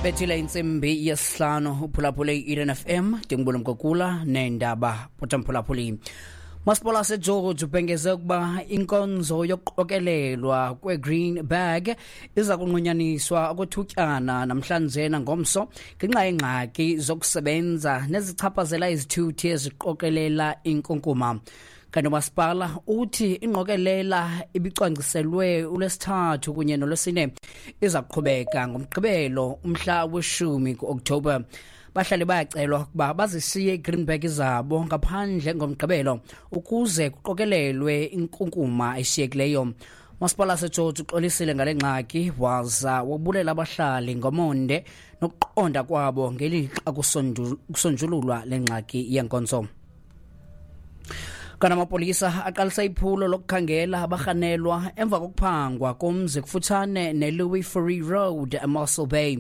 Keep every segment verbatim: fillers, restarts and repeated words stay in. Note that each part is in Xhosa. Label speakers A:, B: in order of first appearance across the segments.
A: Bethile intsimbi yesihlanu uphulaphule i-Eden F M ndingubula Mkokula neendaba potamphulaphuli. Masipala waseGeorge ubhengeze ukuba inkonzo yokuqokelelwa kwe-green bag iza kunqunyaniswa okwethutyana namhlanje nangomso ngenxa yeengxaki zokusebenza nezichaphazela izithuthi eziqokelela inkunkuma. Kanti umasipala uthi ingqokelela ibicwangciselwe uLwesithathu kunye noLwesine iza kuqhubeka ngoMgqibelo umhla weshumi ku-Okthobha. Bahlali bayacelwa ukuba bazishiye i-green bag zabo ngaphandle ngoMgqibelo ukuze kuqokelelwe inkunkuma eshiyekileyo. Masipala waseGeorge uxolisile ngale ngxaki waza wabulela abahlali ngomonde nokuqonda kwabo ngelixa kusonjululwa le ngxaki yenkonzo. Kanti amapolisa aqalisa iphulo lokukhangela abarhanelwa emva kokuphangwa komzi kufutshane ne-Louis Fourie Road eMossel Bay.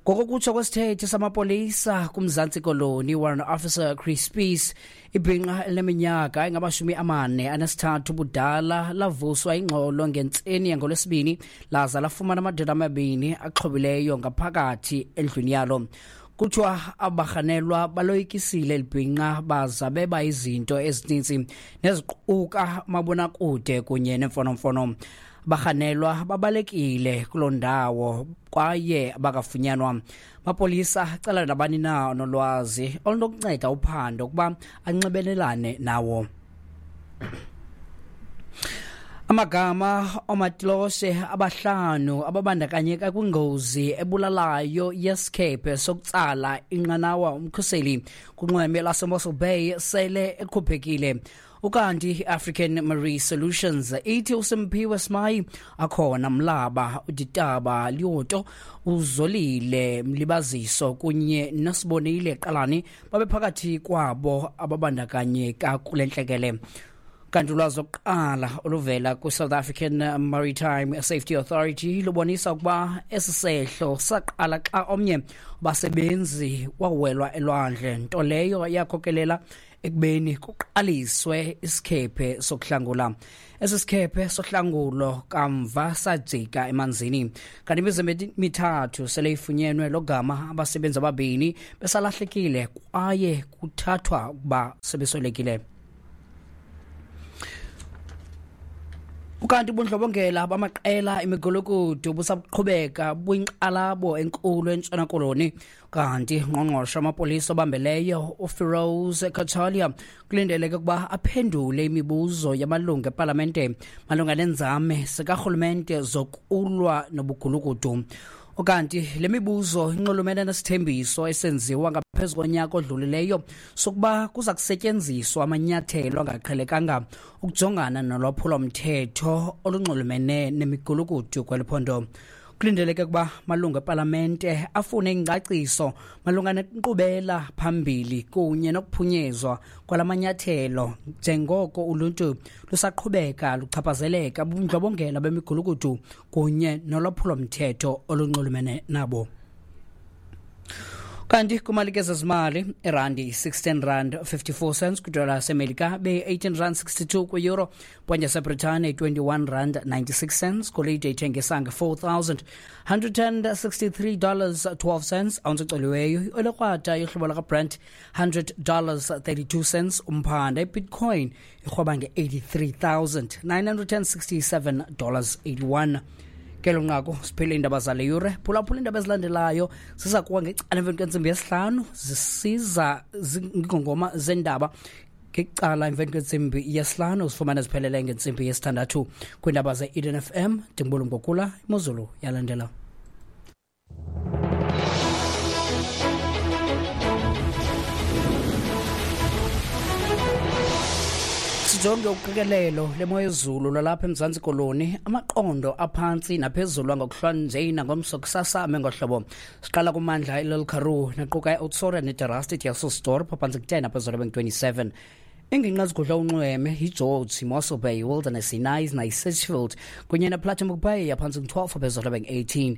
A: Ngokokutsho kwesithethi samapolisa kuMzantsi Koloni, Warrant Officer Chris Peace, ibhinqa elineminyaka engamashumi amane anesithathu ubudala lavuswa ingxolo ngentseni yangoLwesibini laza lafumana amadoda amabini axhobileyo ngaphakathi endlwini yalo. Kuthiwa abarhanelwa baloyikisile eli bhinqa baza beba izinto ezininzi neziquka mabonakude kunye nemfonomfono. Abarhanelwa babalekile kuloo ndawo kwaye bakafunyanwa. Amapolisa acela nabani na onolwazi olunokunceda uphando ukuba anxibelelane nawo. Amagama oomatiloshe abahlanu ababandakanyeka kwingozi ebulalayo yesikhephe sokutsala inqanawa umkhuseli kunxweme laseMossel Bay sele ekhuphekile. Ukanti i-African Marine Solutions ithi uSimphiwe Simayi, Akhona Mlaba, uDitaba Lyoto, uZolile Mlibaziso kunye noSibonile Qalani babephakathi kwabo ababandakanyeka kule ntlekele. Kanti ulwazi lokuqala oluvela kwi-South African Maritime Safety Authority lubonisa ukuba esi sehlo saqala xa omnye wabasebenzi wawelwa elwandle, nto leyo yakhokelela ekubeni kuqaliswe isikhephe sokuhlangula. Esi sikhephe sohlangulo kamva sajika emanzini. Kanti imizimba emithathu sele ifunyenwe logama abasebenzi ababini besalahlekile kwaye kuthathwa ukuba sebeswelekile. Ukanti ubundlobongela bamaqela imigulukudu busaqhubeka buyinkxalabo enkulu eNtshona Koloni. Kanti ngqongqoshe amapolisa obambeleyo uFiroz Cachalia kulindeleke ukuba aphendule imibuzo yamalungu epalamente malunga nenzame zikarhulumente zokulwa nobugulukudu. Ukanti le mibuzo inxulumene nesithembiso esenziwa ngaphezu konyaka odlulileyo sokuba kuza kusetyenziswa amanyathelo angaqhelekanga ukujongana nolwaphulo-mthetho olunxulumene nemigulukudu kweli phondo. Kulindeleke ukuba malungu epalamente afune ingcaciso malunga nenkqubela phambili kunye nokuphunyezwa kwalamanyathelo njengoko uluntu lusaqhubeka luchaphazeleka bubundlobongela bemigulukudu kunye nolwaphulo-mthetho olunxulumene nabo. Kanti kumalike zezimali, irandi sixteen rand fifty-four cents kwidola yaseMelika, beyi-eighteen rand sixty-two kwi-euro, ponde yaseBritane twenty-one rand ninety-six cents, golide ithengisa nge-four thousand hundred and sixty-three dollars twelve cents, ounce ecoliweyo iolekrwada yohlobo lakaBrent hundred dollars thirty-two cents, umphanda iBitcoin irhweba nge-eighty-three thousand nine hundred and sixty-seven dollars eighty-one. Kelo nqaku siphele iindaba zale yure. Phulaphula iindaba ezilandelayo ziza kuwa ngecala emveni kwentsimbi yesihlanu, zisiza zingongoma zendaba ngecala emveni kwentsimbi yesihlanu, uzifumane ziphelele ngentsimbi yesithandathu kwiindaba ze-Eden F M. Ndingubula Mkokula, imozulu yalandela. Sijonge uqikelelo lemoyezulu lwalapha eMzantsi Koloni, amaqondo aphantsi naphezulu angokuhlwa nangomso kusasa ame ngohlobo. Siqala kumandla iLil Karoo naquka iOutsora neDerasti Dysselsdorp phantsi ku-ten naphezulu bengu-twenty-seven. Iingingqi ezigudla unxweme yiGeorge, Mossel Bay, Wilderness, iKnysna, iSitchfield kunye nePlattenberg Bay, aphantsi ngu-twelve aphezulu abe ngu-eighteen.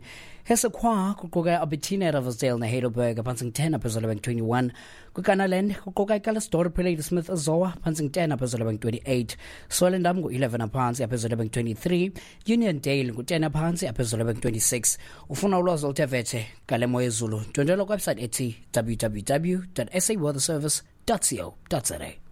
A: Hessequa kuquka iAlbertina, Riversdale neHeidelberg, aphantsi ngu-ten aphezulu abe ngu-twenty-one. KwiKanaland kuquka iCalliersdorp, Ladysmith, Zoar, phantsi ngu-ten aphezulu abe ngu-twenty-eight. Swellendam ngu-eleven aphantsi aphezulu abe ngu-twenty-three. Uniondale ngu-ten aphantsi aphezulu abe ngu-twenty-six. Ufuna ulwazi oluthe vetshe ngale mo yezulu, ndwendwela kwiwebsite ethi w w w dot s a weather service dot co dot za.